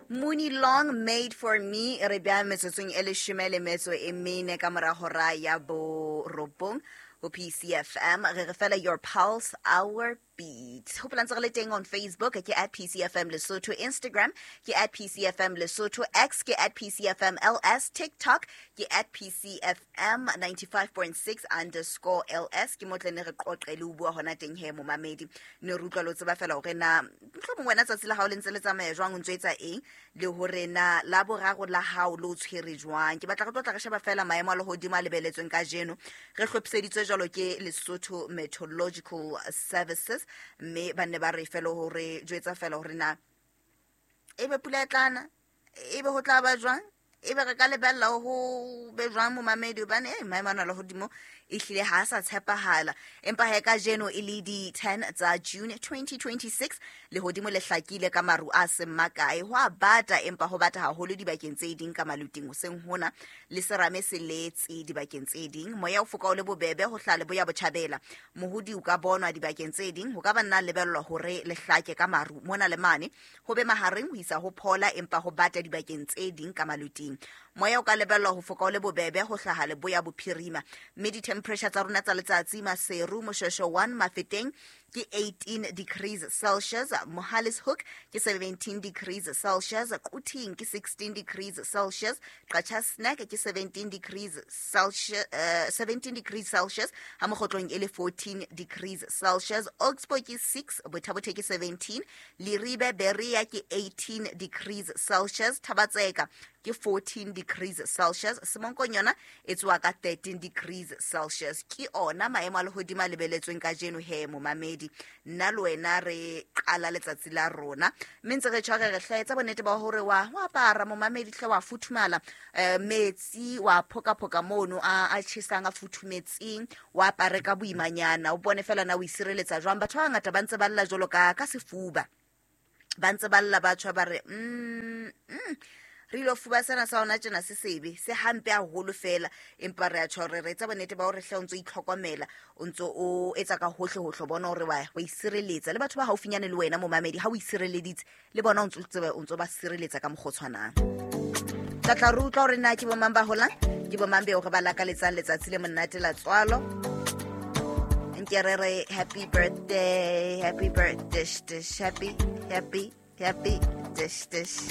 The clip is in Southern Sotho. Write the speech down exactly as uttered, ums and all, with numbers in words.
Mooney Long Made for Me re bea metsotsong e leshome le metso e mene ka mora hora ya borobong ho P C F M. Re re fela your pulse, our beat. Hopola ntse re le teng on Facebook ke at P C F M Lesotho, Instagram ke at P C F M Lesotho, X ke at P C F M L S, TikTok ke at P C F M ninety-five point six underscore L S. Ke mo tle ne re qoqe le ho bua hona teng he, momamedi. Ne re utlwa le ho tseba fela hore na mohlomong wena tsatsi la hao le ntse le tsamaya jwang, o ntso etsa eng, le hore na la boraro la hao le o tshwere jwang. Ke batla re tlo tla re sheba fela maemo a lehodimo a lebeletsweng kajeno, re hlophiseditswe jwalo ke Lesotho Meteorological Services, mme ba ne ba re fela hore jwetsa fela hore na ebe pula e tlana, ebe ho tla ba jwang, ebe re ka lebella ho be jwang, momamedi, hobane eh maemo ana a lehodimo e hlile ha a sa tshepahala. Empa he, kajeno e le di-ten tsa June twenty twenty-six, lehodimo le hlakile ka maru a seng makae. Ho a bata, empa ho bata haholo dibakeng tse ding ka maluting hoseng hona, le serame se letse dibakeng tse ding. Moya o foka o le bobebe ho hlaha leboya botjhabela, mohodi o ka bonwa dibakeng tse ding. Ho ka ba nna lebellwa hore le hlake ka maru mona le mane, ho be mahareng ho isa ho phola, empa ho bata dibakeng tse ding ka maluting. Moya o ka lebellwa ho foka o le bobebe ho hlaha leboya bophirima. Mme di-temperature tsa rona tsa letsatsi: Maseru, Moshweshwe one, Mafeteng ke eighteen degrees Celsius, Mohale's Hoek ke seventeen degrees Celsius, Quthing ke sixteen degrees Celsius, Qacha's Nek ke seventeen degrees Celsius, uh, seventeen degrees Celsius, ha Mokhotlong e le fourteen degrees Celsius, Oxbow ke six, Botha ke seventeen, Leribe Berea ke eighteen degrees Celsius, Thaba-Tseka ke fourteen degrees Celsius, Semonkong yona e tsoa ka thirteen degrees Celsius. Ke ona maemo a lehodimo a lebeletsweng kajeno he, momamedi. Nna le wena re qala letsatsi la rona, mme ntse re tshware re hlaetsa bonnete ba hore wa wa apara, momamedi, hle wa futhumala, um metsi wa phokaphoka mono a a tjhesang a futhumetseng, wa apare ka boimanyana, o bone fela na o isireletsa jwang. Batho ba bangata ba ntse ba lla jwalo ka ka sefuba, ba ntse ba lla, ba tjho ba re mm, mm, re ilo fuba sena sa hona tjena se sebe se hampe haholo fela. Empa re a tjho re re etsa bonnete ba hore hle o ntso itlhokomela, o ntso o etsa ka hohle hohle, bona hore wa wa isireletsa le batho ba haufinyane le wena, momamedi. Ha o isireleditse le bona, o ntso tsebe o ntso ba sireletsa ka mokgwa o tshwanang. Tla tla re utlwa hore na ke bomang ba holang, ke bomang beo re ba lakaletsang letsatsi le monate la tswalo. Nke re re happy birthday, happy birthday, dish, happy, happy, happy, dish, dish.